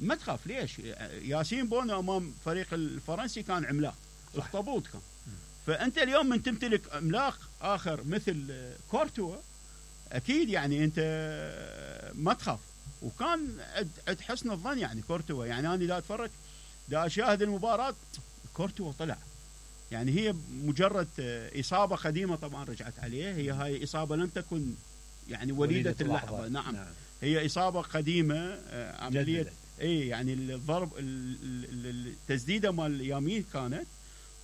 ما تخاف ليش؟ ياسين بونو امام فريق الفرنسي كان عملاق، اخطبوط كان. فانت اليوم من تمتلك عملاق اخر مثل كورتوا، اكيد يعني انت ما تخاف. وكان عد حسن الظن يعني كورتوا، يعني انا دا اتفرج دا اشاهد المباراه كورتوا طلع، يعني هي مجرد اصابه قديمه طبعا رجعت عليه، هي هاي اصابه لم تكن يعني وليده اللحظه. نعم هي اصابه قديمه، عمليه اي يعني الضرب التسديده مال اليمين كانت،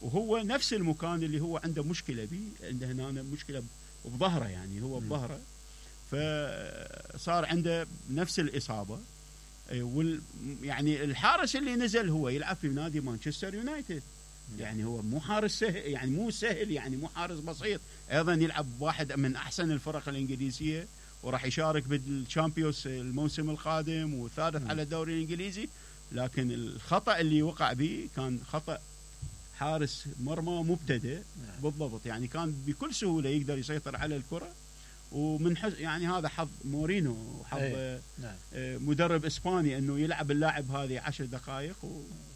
وهو نفس المكان اللي هو عنده مشكله به، عنده هنا مشكله بظهره، يعني هو بظهره، فصار عنده نفس الاصابه. يعني الحارس اللي نزل هو يلعب في نادي مانشستر يونايتد، يعني هو مو حارس سهل، يعني مو سهل، يعني مو حارس بسيط، ايضا يلعب واحد من احسن الفرق الانجليزيه، وراح يشارك بالشامبيونز الموسم القادم، وثالث على الدوري الانجليزي. لكن الخطا اللي وقع به كان خطا حارس مرمى مبتدئ. بالضبط، يعني كان بكل سهوله يقدر يسيطر على الكره، ومن يعني هذا حظ مورينو وحظ مدرب اسباني انه يلعب اللاعب هذه 10 دقائق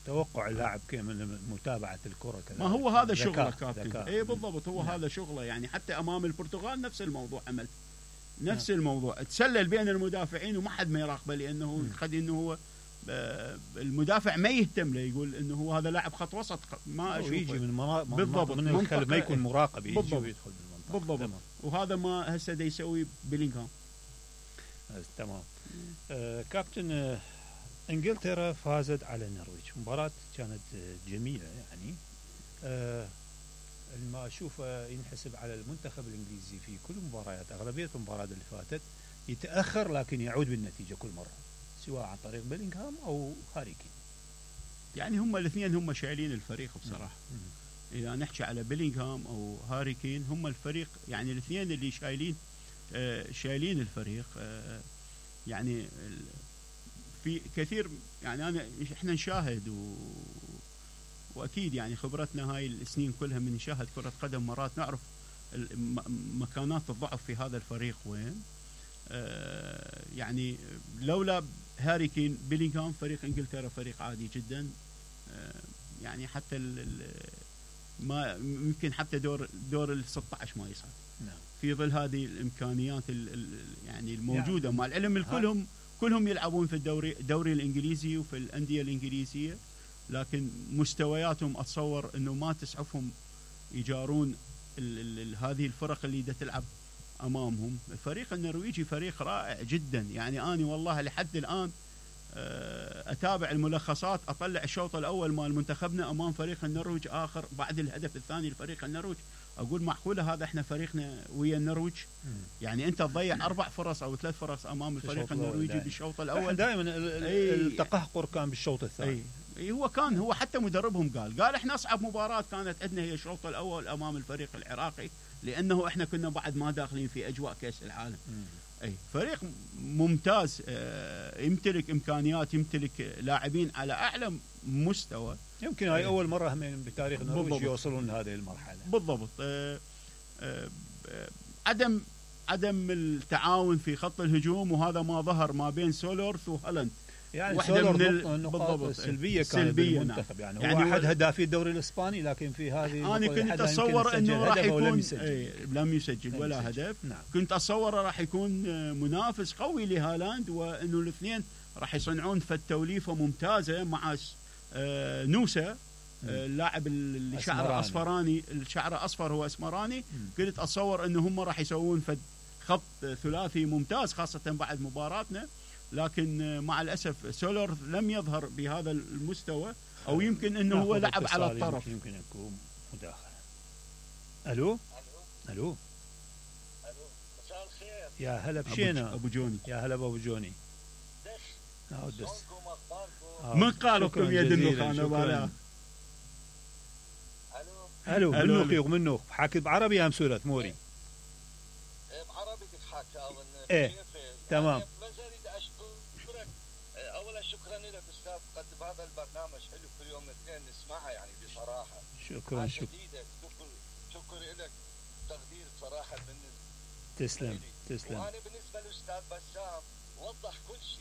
توقع اللاعب من متابعه الكره كذا. ما هو هذا شغله كابتن. اي بالضبط، هو هذا شغله، يعني حتى امام البرتغال نفس الموضوع عمل نفس الموضوع، تسلل بين المدافعين وما حد ما يراقبه، لانه قد انه هو المدافع ما يهتم له، يقول انه هو هذا لاعب خط وسط ما اشوفه، يجي من بالضبط من الخلف ما يكون مراقب، يجي ويدخل بالمنطقه بالضبط. وهذا ما هسه دا يسوي بيلينغهام. تمام. كابتن، انجلترا فازت على النرويج، مباراة كانت جميلة يعني. ما أشوفه ينحسب على المنتخب الإنجليزي في كل مباريات، أغلبية المباريات اللي فاتت يتأخر لكن يعود بالنتيجة كل مرة، سواء عن طريق بيلينغهام أو هاري كين. يعني هم الاثنين هم شايلين الفريق بصراحة. إذا نحكي على بيلينغهام أو هاري كين، هم الفريق، يعني الاثنين اللي شايلين الفريق. يعني في كثير، يعني احنا نشاهد واكيد يعني خبرتنا هاي السنين كلها من نشاهد كرة قدم، مرات نعرف مكانات الضعف في هذا الفريق وين. يعني لولا هاري كين بيلينغهام فريق انجلترا فريق عادي جدا، يعني حتى ما يمكن حتى دور ال 16 ما يصعد. في ظل هذه الامكانيات يعني الموجوده، مع العلم كلهم يلعبون في الدوري الانجليزي وفي الانديه الانجليزيه، لكن مستوياتهم اتصور انه ما تسعفهم يجارون هذه الفرق اللي تلعب امامهم. الفريق النرويجي فريق رائع جدا، يعني انا والله لحد الان اتابع الملخصات، اطلع الشوط الاول مال منتخبنا امام فريق النرويج اخر بعد الهدف الثاني لفريق النرويج، اقول معقوله هذا احنا فريقنا ويا النرويج؟ يعني انت تضيع 4 فرص او 3 فرص امام الفريق النرويجي بالشوط الاول. دائما التقهقر كان بالشوط الثاني. هو حتى مدربهم قال احنا اصعب مباراه كانت عندنا هي الشوط الاول امام الفريق العراقي، لانه احنا كنا بعد ما داخلين في اجواء كاس العالم. فريق ممتاز، يمتلك امكانيات، يمتلك لاعبين على اعلى مستوى. يمكن هاي اول مره هم بتاريخ النرويج يوصلون لهذه المرحله. بالضبط. عدم التعاون في خط الهجوم، وهذا ما ظهر ما بين سولورث وهالاند. يعني واحدة من النقاط السلبية كانت بالمنتخب. يعني هو احد هدافي الدوري الاسباني، لكن في هذه انا كنت اتصور انه راح يكون لم يسجل ولا هدف. كنت اتصور راح يكون منافس قوي لهالاند، وانه الاثنين راح يصنعون توليفه ممتازه مع نوسا، اللاعب اللي شعره اصفراني، الشعر اصفر هو اسمراني. كنت اتصور انه هم راح يسوون خط ثلاثي ممتاز، خاصه بعد مباراتنا، لكن مع الأسف سولر لم يظهر بهذا المستوى، أو يمكن أنه هو لعب على الطرف. يمكن يكون مداخلة. ألو. مساء الخير. يا هلا بشينا أبو جوني. يا هلا أبو جوني. من قال لكم يد النخانة ولا؟ ألو منوخ منوخ حاكي بعربي أم سورة موري؟ بعربي تحكي أظن. إيه تمام. اولا شكرا لك استاذ، تقدم هذا البرنامج حلو كل يوم اثنين نسمعها يعني بصراحه. شكرا شكر لك، تقدير بصراحه بالنسبه. تسلم. وانا بالنسبه للاستاذ بسام وضح كل